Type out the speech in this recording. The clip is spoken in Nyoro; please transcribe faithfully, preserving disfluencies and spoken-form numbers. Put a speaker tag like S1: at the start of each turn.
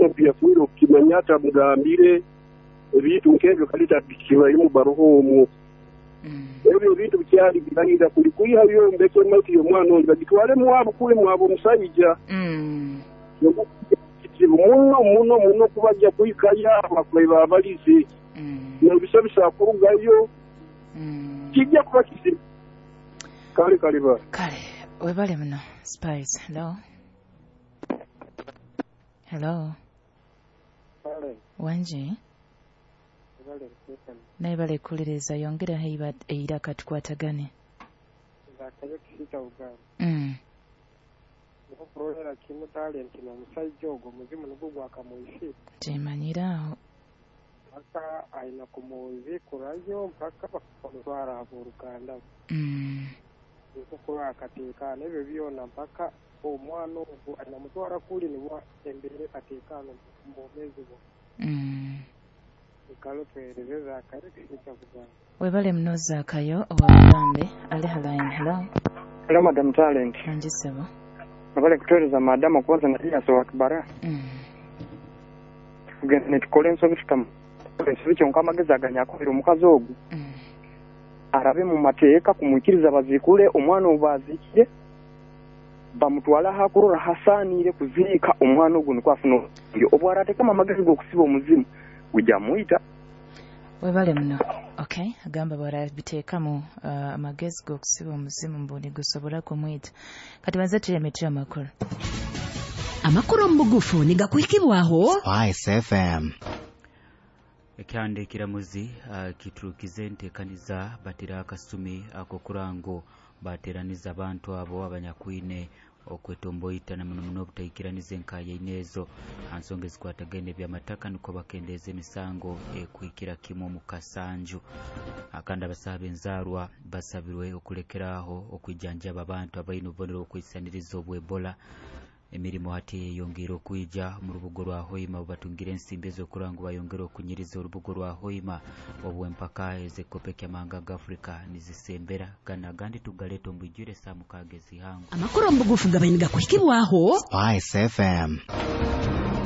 S1: Omwana byafiire okukimanya atamugambire ebintu nk'ebyo kale tabikibairemu baroho omwo.
S2: Mm.
S1: Ebyo ebintu bikyali birahira kuli kwihayo mbeke emaiti y'omwana ondi bagitwale mwabo kuli mwabo omusaija.
S2: Mm.
S1: Kizibu muno muno muno kubajja kuhikayo abakubaire babalize
S2: Mm.
S1: n'ebisa kurugayo
S2: Mm.
S1: kijja kuba kizibu. Kale kale ba.
S2: Kale webale muno Spice. Hello, hello. Wangi. Naye bale kuwuliriza, yongeraho eiba- eiraka tukwatagane.
S3: Zakayo Kisita Uganda.
S2: Mm.
S3: Nikukurolera kimu Talenti n'omusajja ogwo muzimu nugwo gwakamwisi.
S2: Kimanyiraawo.
S3: Mpaka aina kumuziikurayo mpaka bakamutwara abooluganda.
S2: Mm.
S3: Nikukurora akateekaana ebyo byona mpaka omwana ogwo aina mutwara kuli nibwo embeera ekateekaana omu bwomeezi bwe.
S2: Mm.
S3: Ekalo tuweereze Zakayo Kisita Uganda.
S2: Webale muno Zaakayo owa Bugambe. Ali haline. Hello.
S4: Hello, Madam Talent.
S2: Wangi ssebo.
S4: Nabale kutuweereza madamu okubaza na Elias wa Kibara.
S2: Mm.
S4: Tugenda netukola ensobi, tutamu ensobi, kyonka amagezi aganyakubira omukazi ogwo
S2: Mm.
S4: arabe mu mateeka kumwikiriza baziikule omwana obu baziikire bamutwale ahakurora hasaaniire kuziika omwana ogwo nikwo afuna obulyo obwo arateekamu amagezi g'okusiba omuzimu gujja muyita.
S2: Webale muno. Okay, agamba bwarabiteekamu uh, amagezi g'okusiba omuzimu mbu nigusobola kumwita. Kati banze tuyemitye amakulu.
S5: Amakulu omu bugufu nigakuhikibwaho
S6: Spice F M.
S7: Ekyanda ekiramuzi uh, kiturukize enteekaniza batera akasumi ak'okurango bateraniza abantu abo abanyakwine okwetomboita na muno muno obutaikiraniza enkayaine ezo ha nsonga ezikwatagaine ebyamataka nukwo bakendeeza emisango ekuhikira kimu omu kasanju. Kandi abasaha b'enzaarwa basabirwe okulekeraaho okwijanjaba abantu abaine obubonero obwokwisaniriza obw'Ebola. Emirimu hati eyeyongeire okwija mu rubugo rwa Hoima obu batungire ensimbi ez'okurora ngu bayongere okunyiriza orubugo rwa Hoima obw'empaka ez'ekikopo ky'amahanga ga Afrika nizisembera. Gana agandi tugaleeta omu bwijwire saa mukaaga ezihango.
S5: Amakulu omu bugufu gabaire nigakuhikibwaho
S6: Spice F M.